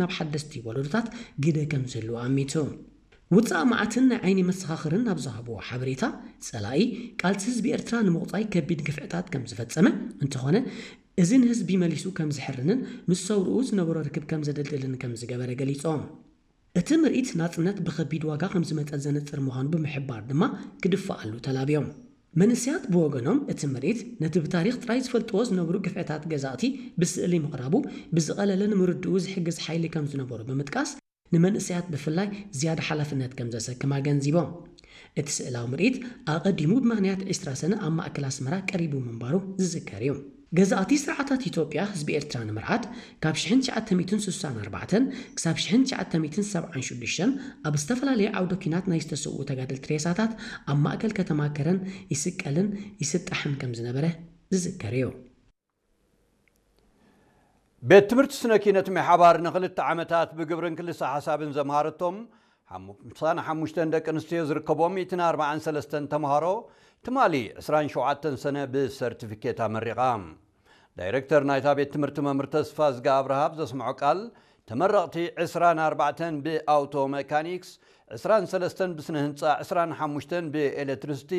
ናብ ሓደስቲ ወለዶታት ግደ ከም ዝህልዎ ኣሚቱ። ውጻእ መዓትን ናይ ዓይኒ መሰኻኽርን ኣብ ዝሃብዎ ሓበሬታ፣ ጸላኢ ቃልሲ ህዝቢ ኤርትራ ንምቑጻይ ከቢድ ግፍዕታት ከም ዝፈጸመ፣ እንተኾነ እዚ ንህዝቢ መሊሱ ከም ዝሕርንን ምስ ሰውርኡ ዝነበሮ ርክብ ከም ዘደልድልን ከም ዝገበረ ገሊጾም። እቲ ምርኢት ናጽነት ብኸቢድ ዋጋ ከም ዝመጸ ዘነጽር ምዃኑ ብምሕባር ድማ ክድፈኣሉ ተላብዮም። መንእሰያት ብወገኖም እቲ ምርኢት ነቲ ብታሪኽ ጥራይ ዝፈልጥዎ ዝነብሩ ግፍዕታት ገዛእቲ ብስእሊ ምቕራቡ ብዝቐለለ ንምርድኡ ዝሕግዝ ሓይሊ ከም ዝነበሩ ብምጥቃስ ንመንእሰያት ብፍላይ ዝያዳ ሓላፍነት ከም ዘሰክም ኣገንዚቦም። እቲ ስእላዊ ምርኢት ኣቐዲሙ ብምኽንያት ዕስራ ሰነ ኣብ ማእከል ኣስመራ ቀሪቡ ምንባሩ ዝዝከር እዩ። ገዛእቲ ስርዓታት ኢትዮጵያ ህዝቢ ኤርትራ ንምርዓድ ካብ ሽሕን ትሽዓተ ሚእትን ስሳን ኣርባዕተን ክሳብ ሽሕን ትሽዓተ ሚእትን ሰብዓን ሽዱሽተን ኣብ ዝተፈላለየ ዓውደ ኲናት ናይ ዝተሰውኡ ተጋደልቲ ሬሳታት ኣብ ማእከል ከተማ ከረን ይስቀልን ይስጣሕን ከም ዝነበረ ዝዝከር እዩ። ቤት ትምህርቲ ስነ ኪነት ምሕባር ንኽልተ ዓመታት ብግብርን ክልሰ ሓሳብን ዘምሃረቶም ሓምሳን ሓሙሽተን ደቂ ኣንስትዮ ዝርከቦም ሚእትን ኣርባዓን ሰለስተን ተምሃሮ ትማሊ ዕስራን ሸውዓተን ሰነ ብሰርቲፊኬት ኣመሪቓ። ዳይሬክተር ናይታ ቤት ትምህርቲ መምህር ተስፋ ዝጋ ኣብርሃ ኣብ ዘስምዖ ቃል፣ ተመረቕቲ ዕስራን ኣርባዕተን ብኣውቶ መካኒክስ፣ ዕስራን ሰለስተን ብስነ ህንጻ፣ ዕስራን ሓሙሽተን ብኤሌክትሪሲቲ፣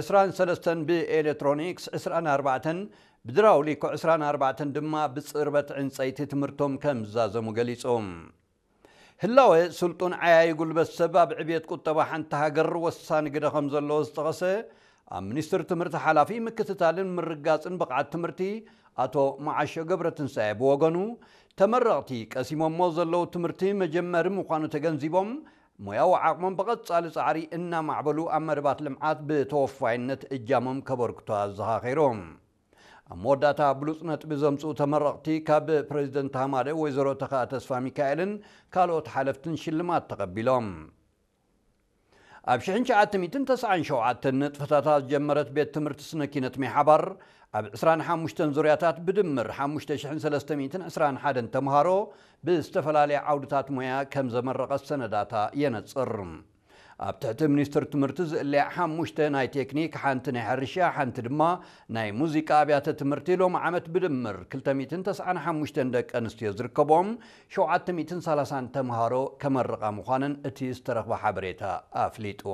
ዕስራን ሰለስተን ብኤሌክትሮኒክስ፣ ዕስራን ኣርባዕተን ብድራውሊኮ፣ ዕስራን ኣርባዕተን ድማ ብጽርበት ዕንጸይቲ ትምህርቶም ከም ዝዛዘሙ ገሊጾም። ህላወ ስልጡን ዓያዪ ጉልበት ሰብ ኣብ ዕብየት ቁጠባ ሓንቲ ሃገር ወሳኒ ግደ ከም ዘለዎ ዝጠቐሰ ኣብ ሚኒስትሪ ትምህርቲ ሓላፊ ምክትታልን ምርግጋጽን ብቕዓት ትምህርቲ ኣቶ መዓሾ ገብረትንሳኤ ብወገኑ፣ ተመረቕቲ ቀሲሞሞ ዘለዉ ትምህርቲ መጀመሪ ምዃኑ ተገንዚቦም፣ ሞያዊ ዓቕሞም ብቐጻሊ ጻዕሪ እናማዕበሉ ኣብ መደባት ልምዓት ብተወፋይነት እጃሞም ከበርክቱ ኣዘኻኺሮም። ኣብ መወዳእታ ብሉጽ ነጥቢ ዘምጽኡ ተመረቕቲ ካብ ፕሬዚደንት ሃማደ ወይዘሮ ተኸኣ ተስፋ ሚካኤልን ካልኦት ሓለፍትን ሽልማት ተቐቢሎም። ኣብ ሽሕን ትሽዓተ ሚእትን ተስዓን ሸውዓተን ንጥፈታታ ዝጀመረት ቤት ትምህርቲ ስነ ኪነት ሜሓባር ኣብ ዕስራን ሓሙሽተን ዙርያታት ብድምር ሓሙሽተ ሽሕን ሰለስተ ሚእትን ዕስራን ሓደን ተምሃሮ ብዝተፈላለየ ዓውድታት ሞያ ከም ዘመረቐት ሰነዳታ የነጽር። ኣብ ትሕቲ ሚኒስትሪ ትምህርቲ ዝእለያ ሓሙሽተ ናይ ቴክኒክ፣ ሓንቲ ናይ ሕርሻ፣ ሓንቲ ድማ ናይ ሙዚቃ ኣብያተ ትምህርቲ ሎሚ ዓመት ብድምር ክልተ ሚእትን ተስዓን ሓሙሽተን ደቂ ኣንስትዮ ዝርከቦም ሸውዓተ ሚእትን ሰላሳን ተምሃሮ ከመርቓ ምዃነን እቲ ዝተረኽበ ሓበሬታ ኣፍሊጡ።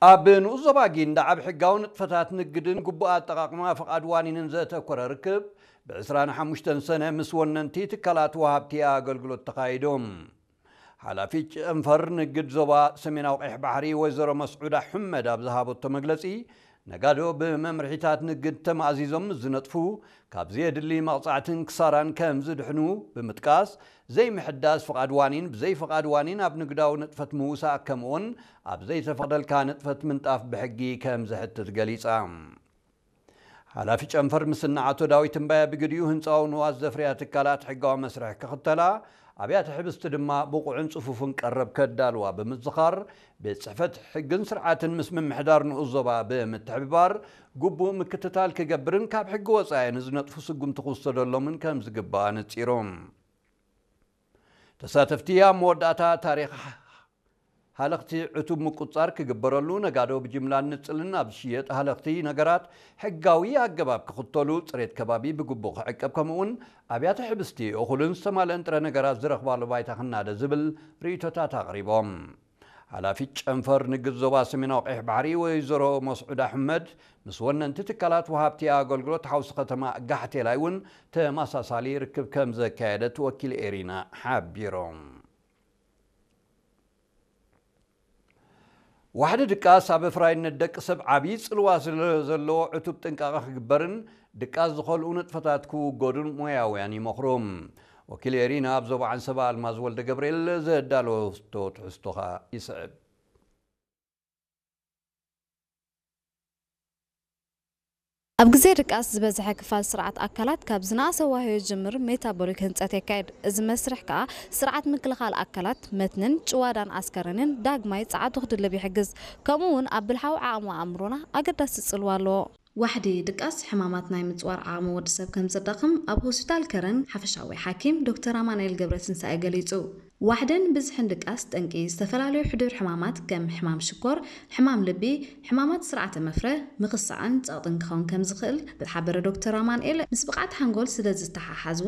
ኣብ ንኡስ ዞባ ጊንዳዕ ኣብ ሕጋዊ ንጥፈታት ንግድን ግቡእ ኣጠቓቕማ ፍቓድ ዋኒንን ዘተኮረ ርክብ ብ ዕስራን ሓሙሽተን ሰነ ምስ ወነንቲ ትካላት ወሃብቲ ኣገልግሎት ተኻይዱ። ሓላፊ ጨንፈር ንግድ ዞባ ሰሜናዊ ቀይሕ ባሕሪ ወይዘሮ መስዑዳ ሕመድ ኣብ ዝሃበቶ መግለጺ፣ ነጋዶ ብመምርሒታት ንግድ ተማእዚዞም ምስ ዝነጥፉ፣ ካብ ዘየድሊ መቕጻዕትን ክሳራን ከም ዝድሕኑ ብምጥቃስ፣ ዘይምሕዳስ ፍቓድ ዋኒን፣ ብዘይ ፍቓድ ዋኒን ኣብ ንግዳዊ ንጥፈት ምውሳእ፣ ከምኡውን ኣብ ዘይተፈቕደልካ ንጥፈት ምንጣፍ ብሕጊ ከም ዘሕትት ገሊጻ። ሓላፊ ጨንፈር ምስና ኣቶ ዳዊት እምባየ ብግዲኡ ህንጻዊ ንዋት ዘፍርያ ትካላት ሕጋዊ መስርሕ ክኽተላ፣ ኣብያተ ሕብስቲ ድማ ብቑዕን ጽፉፍን ቀረብ ከዳልዋ ብምዝኻር፣ ቤት ጽሕፈት ሕግን ስርዓትን ምስ ምምሕዳር ንኡስ ዞባ ብምትሕብባር ግቡእ ምክትታል ክገብርን ካብ ሕጊ ወጻኢ ንዝነጥፉ ስጉምቲ ክውሰደሎምን ከም ዝግባእ ኣነጺሩ። ተሳተፍቲ ኣብ መወዳእታ ታሪኽ ሃለኽቲ ዕቱብ ምቁጽጻር ክግበረሉ፣ ነጋዶ ብጅምላን ንጽልን ኣብ ዝሽየጥ ሃለኽቲ ነገራት ሕጋዊ ኣገባብ ክኽተሉ፣ ጽሬት ከባቢ ብግቡእ ክዕቀብ፣ ከምኡውን ኣብያተ ሕብስቲ እኹልን ዝተማልአን ጥረ ነገራት ዝረኽባሉ ባይታ ክናደ ዝብል ርእይቶታት ኣቕሪቦም። ሓላፊት ጨንፈር ንግድ ዞባ ሰሜናዊ ቀይሕ ባሕሪ ወይዘሮ መስዑድ ኣሕመድ ምስ ወነንቲ ትካላት ወሃብቲ ኣገልግሎት ሓውሲ ከተማ ጋሕቴላይ እውን ተመሳሳሊ ርክብ ከም ዘካየደት ወኪል ኤሪና ሓቢሮም። ዋሕዲ ድቃስ ኣብ ኣፍራይነት ደቂ ሰብ ዓብዪ ጽልዋ ስለ ዘለዎ ዕቱብ ጥንቃቐ ክግበርን ድቃስ ዝኸልኡ ንጥፈታት ክውገዱን ሞያውያን ይመኽሩ። ወኪል ኤሪና ኣብ ዞባ ዓንሰባ ኣልማዝ ወልደ ገብርኤል ዘዳለወቶ ትሕዝቶ ኸኣ ይስዕብ። ኣብ ግዜ ድቃስ ዝበዝሐ ክፋል ስርዓት ኣካላት ካብ ዝነኣሰ ዋህዮ ዝጅምር ሜታቦሊክ ህንጸት የካይድ። እዚ መስርሕ ከኣ ስርዓት ምክልኻል ኣካላት፣ መትንን ጭዋዳን ኣስከረንን ዳግማይ ጸዓቱ ክድልብ ይሕግዝ። ከምኡ እውን ኣብ ብልሓዊ ዓቕሚ ኣእምሮና ኣገዳሲ ጽልዋ ኣለዎ። ዋሕዲ ድቃስ ሕማማት ናይ ምጽዋር ዓቕሚ ወዲ ሰብ ከም ዘዳኽም ኣብ ሆስፒታል ከረን ሓፈሻዊ ሓኪም ዶክተር ኣማኑኤል ገብረትንሳኤ ገሊጹ። ዋሕድን ብዝሕን ድቃስ ጠንቂ ዝተፈላለዩ ሕዱር ሕማማት ከም ሕማም ሽኮር፣ ሕማም ልቢ፣ ሕማማት ስርዓተ መፍረ፣ ምኽሳዕን ጸቕጥን ክኸውን ከም ዝኽእል ዝተሓበረ ዶክተር ኣማንኤል፣ ምስ ብቕዓት ሓንጎል ስለ ዝተሓሓዝ